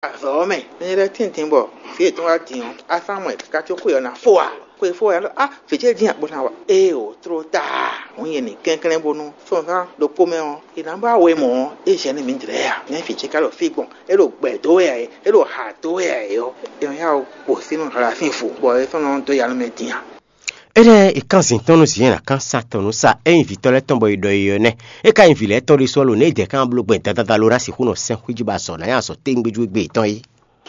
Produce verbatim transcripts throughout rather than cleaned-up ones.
Azɔ̌ ɔ́ mɛ, nyɛ lɛ́ tíntín bɔ fí yětɔn wá din ɔ́, asán mɔ ɛ káká có xwe ɔ́ ná fó ǎ. Xwe fó ɛ ɖɔ: "Á, vǐ ce dín a?" Bó ná wa. Éeǒ, tló táa. Hǔn nyɛ ní kɛnklɛ́n bónú sɔ́nzán ɖokpó mɛ ɔ́, è nǎ ba we mɔ̌ ɔ́, é zɛ nú mǐdɛɛ ǎ. Nɛ̌ vǐ ce ka ɖo fí gbɔn? É ɖo gbɛ̌ dó wɛ ǎ é, é ɖo hǎ dó wɛ ǎ é ɔ́, é nɔ yá wǔ gbo sínú hlalásin vo, bɔ é sɔ́ nɔ dó ya nú mɛ din ǎ. Énɛ́ è kán zǐn tɔn nú Zinyɛ́n ná kán sa tɔn nú sa é nyí vǐtɔ́ lɛ́ɛ tɔn bɔ è ɖɔ é ɔ́ nɛ́. É ka nyí vǐ lɛ́ɛ tɔn ɖésú ɔ́ lo nɛ̌ é dɛ̌ kan bló gbɛn dandan lo ná sixú nɔ sɛn xwíjí ba azɔ̌ ná nyi azɔ̌ téŋgbé jú égbé yětɔn é.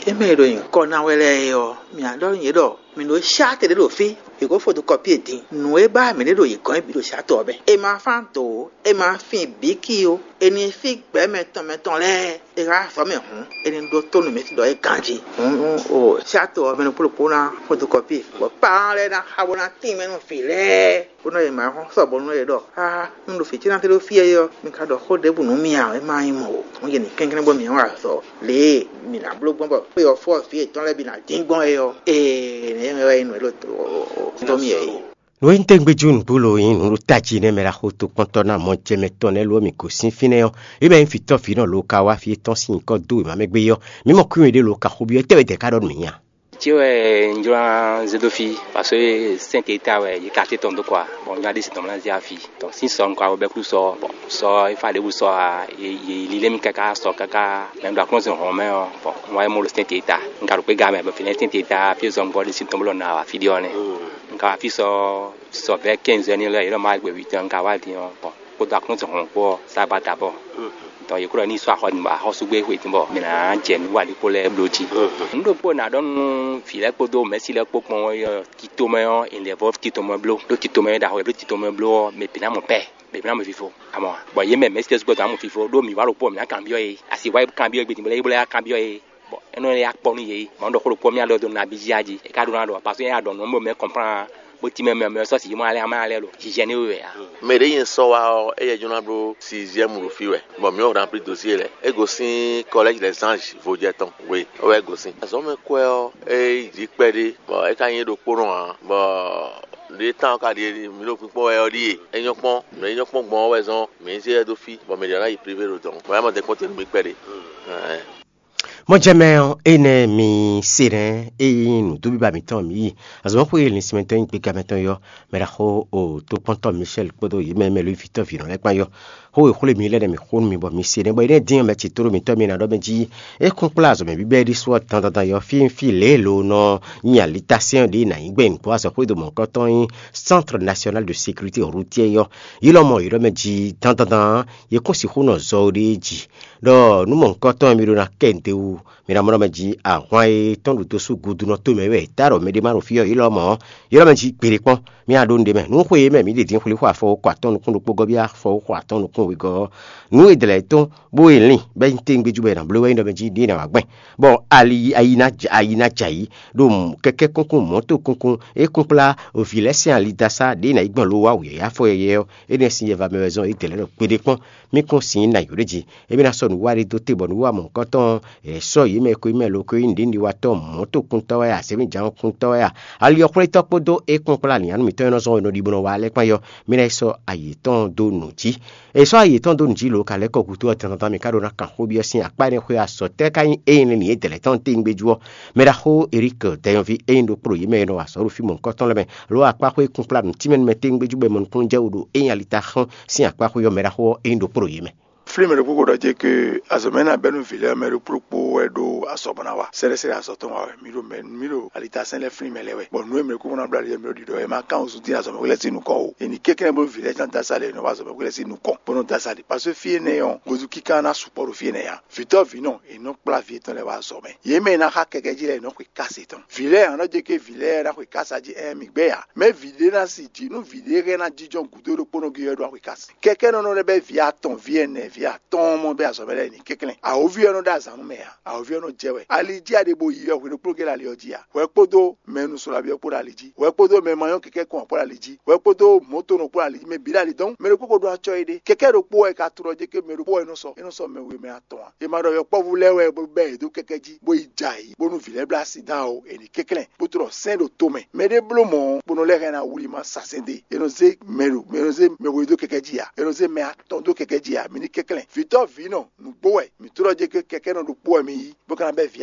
Émɛ e ɖo nyǐkɔ ná wɛ lɛ́ɛ é ɔ́, mǐ ná ɖɔ nú yě ɖɔ mǐ ɖo sháte ɖé ɖo fí, è ko fotokɔpie din. Nǔ e ba mǐ ɖe ɖo yě gɔ́n é bǐ ɖo sátɔ ɔ́ mɛ. È ma fán dǒ ó, è ma fin bǐki ó, è nǐ fí gbɛ̌ mɛ tɔn mɛ tɔn lɛ́ɛ. È há azɔ̌ mɛ hǔn, è nǐ ɖótó nǔ mɛ ɖɔ é ganjí. Hǔn, o sátɔ ɔ́ mɛ ɖokpó ɖokpó ná fotokɔpie, bɔ paan lɛ́ɛ ná xa bó ná tín mɛ nú vǐ lɛ́ɛ. Bó nɔ yě ma hɔn sɔ bɔ nú yě ɖɔ: "Aa, un ɖo fǐ ce ná tɛ́ ɖó fí é ɔ́, mi ka ɖɔ xó ɖěbǔ nú mì ǎ, é má nyí mɔ̌ ó. Hǔn yě ní kɛnklɛ́n bɔ mǐ wá azɔ̌ lě e mǐ ná bló gbɔn bɔ xwé ɔ́ fɔ fí yětɔn lɛ́ɛ bǐ ná dín gbɔn é ɔ́, ee, nɛ̌ wɛ nyí nǔ e ɖo dó mì é." Nǔ e nyí tɛ́ngbéjú nǔgbó lo nyí nǔ ɖo tají nɛ́ mɛ ɖaxó tokpɔ́ntɔ́ ná mɔjɛmɛ tɔn nɛ́ lo ɔ́ mǐ gosín fínɛ́ ɔ́, é mɛ nyí vǐtɔ́ vǐ nɔ lo ka wá fí é tɔ́n sín nyǐkɔ dó wěma mɛ gbé ɔ́, mǐ mɔ kwín we ɖé lo ka xó byɔ́, étɛ́ wɛ dɛ̌ ka ɖɔ nú mǐ nya? Cé wɛ un jló ná zé dó fí, parce que sɛ́n te ta wɛ yě ka tɛ́ tɔn dó kɔ a, bɔ un jló ná ɖe sin tɔn mɔ ná zé afi. Tɔn sín sɔ un ka wɛ bɛ́ kú sɔ, bɔ sɔ e fa ɖěbǔ sɔ a, yě lílé mì káká sɔ káká, mɛ ɖo aklúnɔzin hɔn mɛ ɔ́, bɔ un wá yi mɔ ɖo sɛ́n te ta. Un ka ɖo kpé ga mɛ, bɔ fínɛ́ sɛ́n te ta fí zɔn gbɔ ɖe sín tɔn bó lɔ na wá fí ɖé ɔ́ nɛ́. Un ka wá fí sɔ sɔ vɛ̌ kɛ́nzɛ́n ní lɛ́ɛ, yě nɔ má gbe wǐtɔn, un ka wá din ɔ́, bɔ kpódó aklúnɔzin hɔn kpó ɔ́, sá gba dabɔ. Tɔ yě kúrò ní sɔ́ axɔ nǔ axɔ́súgbé xwe dín bɔ mǐ ná jɛ nǔ wa ɖokpó lɛ́ɛ bló jí. Nǔ ɖokpó è nǎ ɖɔ nú vǐ lɛ́ɛ kpódó mɛ̌si lɛ́ɛ kpó gbɔn ɔ́, titomɛ ɔ́, è lɛ̌ vɔ́ titomɛ bló, ɖó titomɛ e ɖo axɔ wɛ bló titomɛ bló ɔ́, mɛ bǐ ná mɔ pɛ́, mɛ bǐ ná mɔ fifo. Amɔ, bɔ yě mɛ mɛ̌si lɛ́ɛ sukpɔ́ dɔn ná mɔ fifo, ɖó mǐ wá ɖokpó ɔ́, mǐ ná kanbyɔ́ yě. Asi wá yí kanbyɔ́ yě gbe din bɔ lɛ́ yí bó lɛ́ yá kanbyɔ́ yě. Bɔ é nɔ lɛ́ yá kpɔ́ nú yě. Mɔ̌ ɖɔ xó ɖokpó ɔ́, mǐ ná ɖɔ dó nabí jí a jí. É ka ɖó ná ɖɔ, parce que é ná ɖɔ nǔ ɔ́, mɛ kɔnplán bó tín mɛ mɛ mɛ sɔ́ sǐ mɔ alɛ amɛ alɛ lo jijɛ ní we wɛ a. Mɛ ɖě nyi sɔ wa ɔ́, éyɛ́ jló ná bló sixième ɖo fí wɛ, bɔ mǐ wɔ rempli dosie lɛ́ɛ. É gosín Collège des Anges Vodjɛ tɔn we, é wɛ é gosín. Azɔ̌mɛ kwɛ́ ɔ́, é yi jǐ kpɛɖé, bɔ é ka nyí é ɖokpónɔ ǎ, bɔ ɖě tán ɔ́ ka ɖíe, mǐ ɖo kpínkpɔ́n wɛ ɔ́ ɖíe. É nyɔ́ kpɔ́n, mɛ é nyɔ́ kpɔ́n gbɔn ɔ́ wɛ zɔ́n mǐ zé ɛ dó fí, bɔ mɛ ɖě ná yi privé ɖo dɔn, bɔ é mɔ dɛkpɔ́n te nú mì kpɛɖé. Mɔjɛmɛ ɔ́, énɛ́ mi se nɛ́, ényí nǔdúbíba mǐtɔn mǐ yi. Azɔ̌mɔxwé linsinmɛtɔn e nyí gbígbá mɛtɔn yɔ, mɛ ɖaxó o tokpɔ́ntɔ́ Michel kpódó yě mɛ mɛ Lewífitɔ́ vǐnɔ lɛ́ɛ kpán yɔ. Xó e xwlé mi lɛ́ɛ nɛ́ mi xó nú mi bɔ mi se nɛ́, bɔ énɛ́ dín ɔ́ mɛ ce tlóló mǐtɔn mi ná ɖɔ mɛ jí é kún kplá azɔ̌ mǐ bíbɛ́ ɖésú ɔ́ dandan yɔ fí fí lě e lo nɔ nyi alitásɛ́n ɖě ná nyí gbɛn nǔgbó azɔ̌xwédo mɔ̌hunkɔtɔn nyí Centre National de Sécurité Routière yɔ. Yi lɔ mɔ yě ɖɔ mɛ jí dandandan yě kún sixú nɔ zɔ ɖěe jí. Ɖɔ nú mɔ̌hunkɔtɔn e mi ɖó ná kɛ nǔɖé wú, mi ná mɔ ɖɔ mɛ jí ahwan e tɔn ɖo dosú gudu nɔ to mɛ wɛ tá ɖɔ mɛɖé má ɖo fí ɔ́, yi lɔ mɔ ɔ́, yi lɔ mɛ jí gbeɖé kpɔ́n. Mi ná ɖó nǔɖé mɛ. Nú xwe e mɛ mǐ ɖe din xwlí xwe afɔ ko atɔ́ɔ́n nukún ɖokpó gɔ́ byɔ́ afɔ ko atɔ́ɔ́n nukún wegɔ́ ɔ́, nǔ e dlɛ̌ tɔn bó e lin bɔ é nyí téŋgbéjú bɔ è nǎ bló wɛ nyí ɖɔ mɛ jí ɖě ná wá gbɛn. Bɔ ali ayi ná jɛ ayi ná jɛ ayǐ ɖo kɛkɛ́ kúnkún mɔ̌to kúnkún e kún kplá vǐ lɛ́ɛ sín ali dó asá ɖě ná yi gbɔn lo wá wǔyɛ́yɛ́ afɔ yɛyɛ́ ɔ́, énɛ́ sín yɛva mɛ wɛ zɔ́n é dɛ̌ lɛ́ɛ ɖo kpeɖé kpɔ́n. Mí kún sin ná yǒɖé jí. Émí ná sɔ́ nǔwiwa ɖé dó te bɔ nǔwiwa mɔ̌hunkɔtɔn ɔ́, è sɔ́ yě mɛ e ko nyí mɛ lo ko nyí nǔɖiɖiwatɔ́ mɔ̌tokuntɔ́ wɛ a, zěmijǎnkuntɔ́ wɛ a, ali ɔ́ xwlétɔ́ kpódó é kpɔ́n kplá nǐ anu mǐtɔn e nɔ zɔn we nɔ ɖi bó nɔ wa lɛ́ɛ kpán yɔ, mí ná yi sɔ́ ayi yětɔn dó nǔ jí. È sɔ́ ayi yětɔn dó nǔ jí lǒ ka lɛ́ kɔ gúdo ɔ́, dandan mǐ ka ɖó ná kan xó byɔ́ sín akpá énɛ́ xwé azɔ̌ tɛ́ ka nyí ényí nɛ́ nǐ é dɛ̌ lɛ́ɛ tɔn téŋgbéjú ɔ́? Mɛɖaxó Erík Dɛyɔnví e nyí ɖokpó ɖo yě mɛ e nɔ wa azɔ̌ ɖo fí mɔ̌hunkɔtɔn lɛ́ɛ mɛ, lo akpá xwé kunkplá nǔ tínmɛ nú mɛ téŋgbéjú bɔ è mɔ nukúnnú jɛ wú ɖo ényí ali ta xɔ́n sín akpá xwé ɔ́, mɛɖaxó ɔ́ é nyí ɖokpó ɖo yě mɛ. Flín mɛ ɖokpó ko ɖɔ jɛ ke azɔ̌ mɛ ná bɛ́ nú vǐ lɛ́ɛ mɛ ɖokpó ɖokpó wɛ ɖó azɔ̌ bɔ ná wa. Sɛ́ɖɛ́sɛ́ɖɛ́ azɔ̌ tɔn wa wɛ. Mǐ ɖo mɛ mǐ ɖo alitasɛn lɛ́ɛ flín mɛ lɛ́ɛ wɛ. Bɔ nǔ e mɛ ɖokpó ná bló ali lɛ́ɛ mǐ ɖo ɖiɖɔ wɛ má kán wǔzú dín azɔ̌ mɛ xwé lɛ́ɛ sín nukɔn o. È nǐ kɛnklɛ́n bónú vǐ lɛ́ɛ ná dó asá lɛ́ɛ è nɔ wá azɔ̌ mɛ xwé lɛ́ɛ sín nukɔn bó nɔ dó asá lɛ́ɛ. Parce que fí énɛ́ ɔ́, gozu kíká ná sukpɔ́ ɖo fí énɛ́ ǎ. Vǐtɔ́ vǐ nɔ è nɔ kplá vǐ yětɔn lɛ́ɛ wá azɔ̌ mɛ. Yě mɛ e ná xá kɛkɛ jí lɛ́ɛ è nɔ xwe káse tɔn. Vǐ lɛ́ɛ ǎ nɔ jɛ ké vǐ lɛ́ɛ ná xwe kása jí ɛ́n mǐ gbɛ́ ǎ. Mɛ vǐ ɖé ná si jí nú vǐ ɖé hɛn ná jínjɔ́n gǔdo ɖokpónɔ gé ɔ́ ɖó axwe káse. Kɛkɛ nɔ nɔ lɛ́ bɛ́ vǐ atɔn, vǐ ɛnɛ, vǐ atɔ́ɔ́n mɔ bɛ́ azɔ̌ mɛ lɛ́ɛ ní kɛnklɛ́n. Awǒvi ɔ́ nɔ ɖó azǎn nú mɛ ǎ. Awǒvi ɔ́ nɔ jɛ wɛ. Ali jí a ɖe bo yi wɛ hwenu kpló gé ɖo ali ɔ́ jí ǎ. Hwɛ kpódó mɛ nu sɔ́ ali ɔ́ kpó ɖo ali jí. Hwɛ kpódó mɛ ma nyɔ́ kɛkɛ́ kɔn ɔ́ kpó ɖo ali jí. Hwɛ kpódó mɔ̌to nɔ kpó ɖo ali jí. Mɛ bǐ ɖo ali dɔn. Mɛ ɖokpó ko ɖó acɔ́ éɖée. Kɛkɛ́ ɖokpó wɛ ka tlɔ jɛ ké mɛ ɖokpó wɛ nɔ sɔ. É nɔ sɔ mɛ we mɛ atɔn ǎ. È ma ɖɔ yɔkpɔ́vú lɛ́ɛ wɛ bó bɛ́ yě dó kɛkɛ́ jí, bó yi jɛ ayǐ, bónú vǐ lɛ́ɛ bló asi dán o, è nǐ kɛnklɛ́n, bó tlɔ sɛ́n ɖo to mɛ. Mɛ ɖé bló mɔ̌, bó nɔ lɛ́ hɛn ná wlí ma sa sɛ́n dó e. È nɔ zé mɛ ɖo, è nɔ zé mɛ we dó kɛkɛ́ jí ǎ, è nɔ zé mɛ atɔn dó kɛkɛ́ jí ǎ, mi ní kɛnklɛ́n. Vǐtɔ́ vǐ nɔ, nǔgbó wɛ, mǐ tlɔ́ jɛ ké kɛkɛ́ nɔ ɖokpó wɛ mi yí, bó ka ná bɛ́ vǐ